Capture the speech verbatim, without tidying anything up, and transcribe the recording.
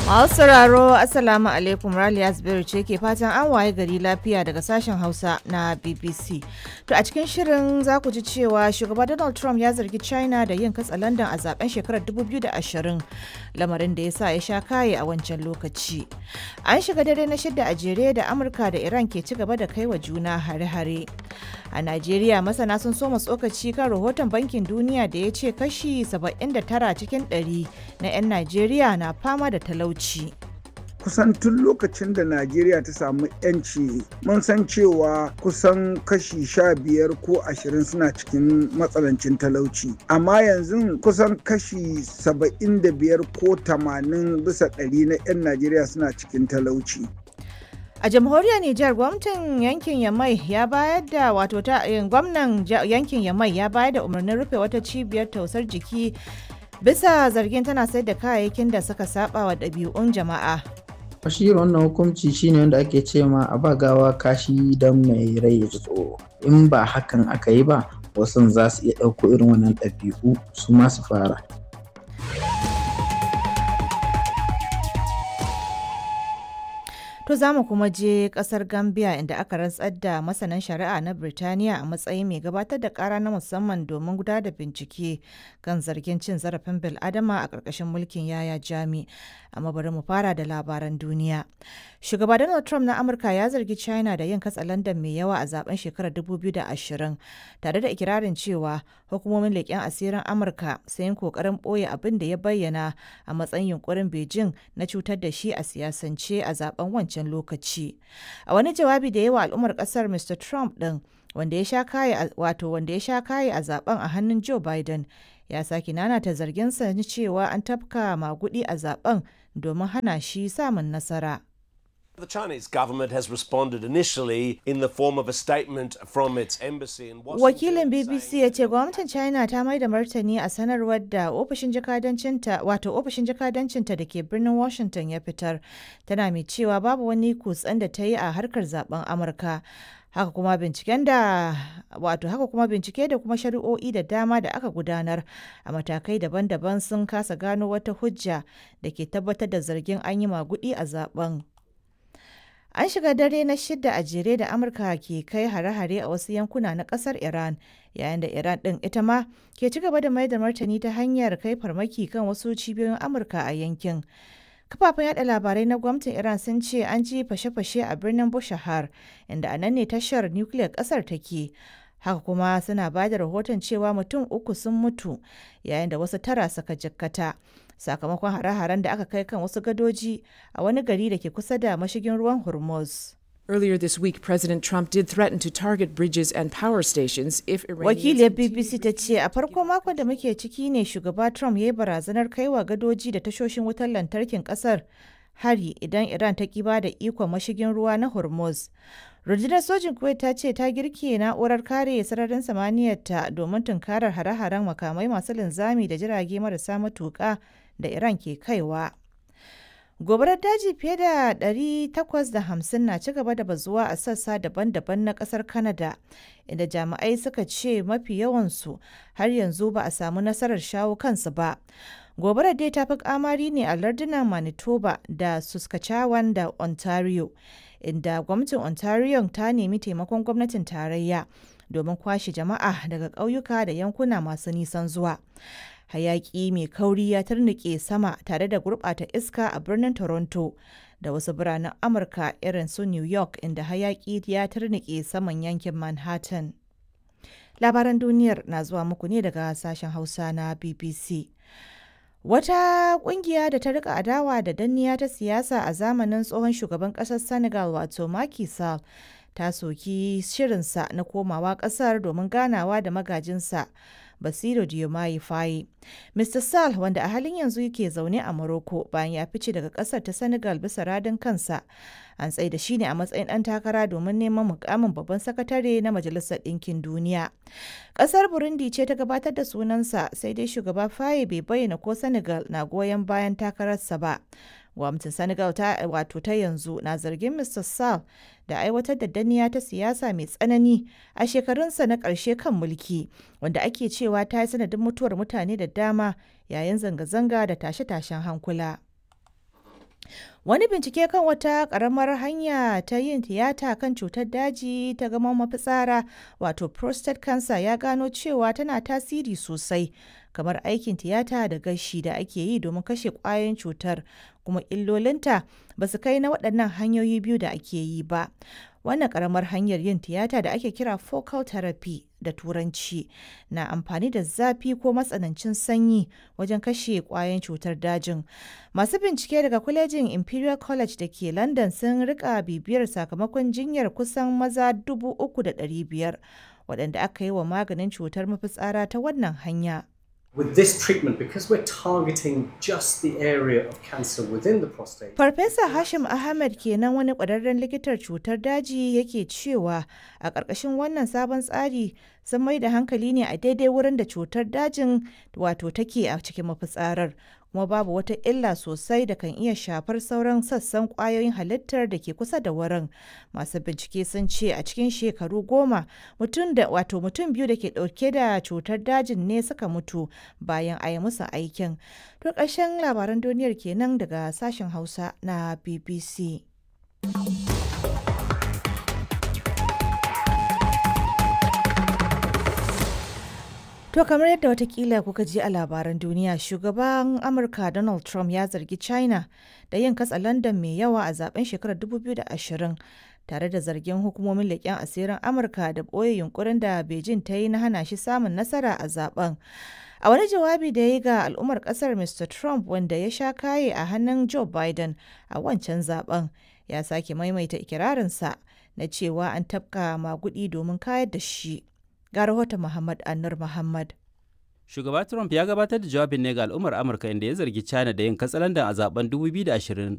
Masu sauraro, Assalamu alaikum. Raliya Zubairu ce ke fatan an waye gari lafiya daga sashen Hausa na B B C. To, a cikin shirin za ku ji cewa shugaba Donald Trump ya zargi China da yin katsalandan a zaben shekarar dubu biyu da ashirin, lamarin da ya sa ya sha kaye a wancan lokaci. An shiga dare na shida a jere da Amurka da Iran ke ci gaba da kai wa juna hare-hare. A Najeriya, masana sun soma tsokaci kan rahoton Bankin Duniya da ya ce kashi saba'in da tara cikin ɗari na 'yan Najeriya na fama da talauci. Kusan tun lokacin da Najeriya ta samu 'yanci, mun san cewa kusan kashi sha biyar ko ashirin suna cikin matsanancin talauci, amma yanzu kusan kashi saba'in da biyar ko tamanin bisa ɗari na 'yan Najeriya suna cikin talauci. A jamhuriyar Nijar, gwamnatin yankin Yamai ya bayar da wato ta gwamnan yankin Yamai ya bayar da umarnin rufe wata cibiyar tausar jiki bisa zargin tana sayar da kayayyakin da suka saba wa ɗabi'un jama'a. Shi wannan hukunci shine wanda ake ce ma a ba gawa kashi don mai rai ya ji tsoro. In ba hakan aka yi ba, wasu za su iya ɗauko irin wannan ɗabi'u su ma su fara. To, za mu kuma je kasar Gambia, inda aka rantsar da masanin shari'a na Birtaniya a matsayin mai gabatar da kara na musamman domin gudanar da bincike kan zargin cin zarafin bil'adama a ƙarƙashin mulkin Yaya Jami. Amma bari mu fara da labaran duniya. Shugaba Donald Trump na Amurka ya zargi China da yin katsalandan mai yawa a zaben shekarar dubu biyu da ashirin, tare da ikirarin cewa hukumomin leƙen asirin Amurka sun yi ƙoƙarin ɓoye abin da ya bayyana a matsayin yunkurin Beijing na cutar da shi a siyasance a zaben wancan wancan lokaci. A wani jawabi da yawa al'ummar kasar, Mister Trump din, wanda ya sha kaye wato wanda ya sha kaye a zaben a hannun Joe Biden, ya sake nanata zarginsa na cewa an tafka magudi a zaben domin hana shi samun nasara. The Chinese government has responded initially in the form of a statement from its embassy in Washington. Wakilin B B C ya ce gwamnatin China ta mai da martani a sanarwar da ofishin jakadancinta wato ofishin jakadancinta da ke birnin Washington ya fitar, tana mai cewa babu wani kutsen da ta yi a harkar zaben Amurka. Haka kuma binciken da wato haka kuma bincike da kuma shari'o'i da dama da aka gudanar a matakai daban-daban sun kasa gano wata hujja da ke tabbatar da zargin an yi magudi a zaben. An shiga dare na shida a jere da Amurka ke kai hare-hare a wasu yankuna na kasar Iran, yayin da Iran ɗin ita ma ke ci gaba da mai da martani ta hanyar kai farmaki kan wasu cibiyoyin Amurka a yankin. Kafafen yada labarai na gwamnatin Iran sun ce an ji fashe-fashe a birnin Bushahar, inda a nan ne tashar nukiliyar kasar take. Haka kuma suna ba da rahoton cewa mutum uku sun mutu yayin da wasu tara suka jikkata sakamakon hare-haren da aka kai kan wasu gadoji a wani gari da ke kusa da mashigin ruwan Hormuz. Earlier this week, President Trump did threaten to target bridges and power stations if Iranians Wakiliyar B B C ta ce a farko makon da muke ciki ne shugaba Trump ya yi barazanar kaiwa gadoji da tashoshin wutar lantarkin kasar hari idan Iran ta ki ba da ikon mashigin ruwa na Hormuz. Rundunar sojin Kuwait ta ce ta girke na'urar kare sararin samaniyarta domin tunkarar hare-haren makamai masu linzami da jirage marasa matuƙa da Iran ke kaiwa. Gobarar daji fiye da ɗari takwas da hamsin na ci gaba da bazuwa a sassa daban-daban na kasar Canada, inda jami'ai suka ce mafi yawansu har yanzu ba a samu nasarar shawo kansu ba. Gobarar dai ta fi kamari ne a lardunan Manitoba da Saskatchewan da Ontario, inda gwamnatin Ontario ta nemi taimakon gwamnatin tarayya domin kwashe jama'a daga ƙauyuka da yankuna masu nisan zuwa. Hayaki mai kauri ya tarnike sama tare da gurɓata iska a birnin Toronto da wasu biranen Amurka irin su New York, inda hayaki ya tarnike saman yankin Manhattan. Labaran duniyar na zuwa muku ne daga sashen Hausa na B B C. Wata kungiya da ta rika adawa da danniya ta siyasa a zamanin tsohon shugaban kasar Senegal, wato Macky Sall, ta soki shirinsa na komawa kasar domin ganawa da magajinsa Bassirou Diomaye Faye. Mister Sall, wanda a halin yanzu yake zaune a Morocco bayan ya fice daga kasar ta Senegal bisa radin kansa, an tsaida shi ne a matsayin ɗan takara domin neman mukamin babban sakatare na Majalisar Ɗinkin Duniya. Kasar Burundi ce ta gabatar da sunansa, sai dai shugaba Faye bai bayyana ko Senegal na goyon bayan takararsa ba. Gwamnatin Senegal ta wato ta yanzu na zargin Mister Sall da aiwatar da danniya ta siyasa mai tsanani a shekarunsa na ƙarshe kan mulki, wanda ake cewa ta yi sanadin mutuwar mutane da dama yayin zanga-zanga da tashe-tashen hankula. Wani bincike kan wata ƙaramar hanya ta yin tiyata kan cutar daji ta gaman mafitsara wato prostate cancer ya gano cewa tana tasiri sosai kamar aikin tiyata da gashi da ake yi domin kashe ƙwayoyin cutar kuma illolinta ba su kai na waɗannan hanyoyi biyu da ake yi ba. Wannan ƙaramar hanyar yin tiyata da ake kira focal therapy da turanci na amfani da zafi ko matsanancin sanyi wajen kashe ƙwayoyin cutar dajin. Masu bincike daga kwalejin Imperial College da ke London sun rika bibiyar sakamakon jinyar kusan maza dubu uku da ɗari biyar waɗanda aka yi wa maganin cutar mafitsara ta wannan hanya. With this treatment, because we're targeting just the area of cancer within the prostate. Farfesa Hashim Ahmed kenan wani ƙwararren likitar cutar daji yake cewa a ƙarƙashin wannan sabon tsari sun mai da hankali ne a daidai wurin da cutar dajin wato take a cikin mafitsarar kuma babu wata illa sosai da kan iya shafar sauran sassan ƙwayoyin halittar da ke kusa da wurin. Masu bincike sun ce a cikin shekaru goma mutum da wato mutum biyu da ke ɗauke da cutar dajin ne suka mutu bayan a yi musu aikin. To ƙarshen labaran duniyar kenan daga sashen Hausa na B B C. To kamar yadda watakila kuka ji a labaran duniya, shugaban Amurka Donald Trump ya zargi China da yin katsa London mai yawa a zaben shekarar dubu biyu da ashirin tare da zargin hukumomin leƙen asirin Amurka da ɓoye yunkurin da Beijing ta yi na hana shi samun nasara a zaben. A wani jawabi da ya yi ga al'ummar ƙasar, Mister Trump, wanda ya sha kaye a hannun Joe Biden a wancan zaben, ya sake maimaita ikirarinsa na cewa an tafka magudi domin kayar da shi. Ga rahoton Muhammad Anur Muhammad. Shugaba Trump ya gabatar da jawabin ne ga al'ummar Amurka inda ya zargi China da yin katsalandan a zaben dubu biyu da ashirin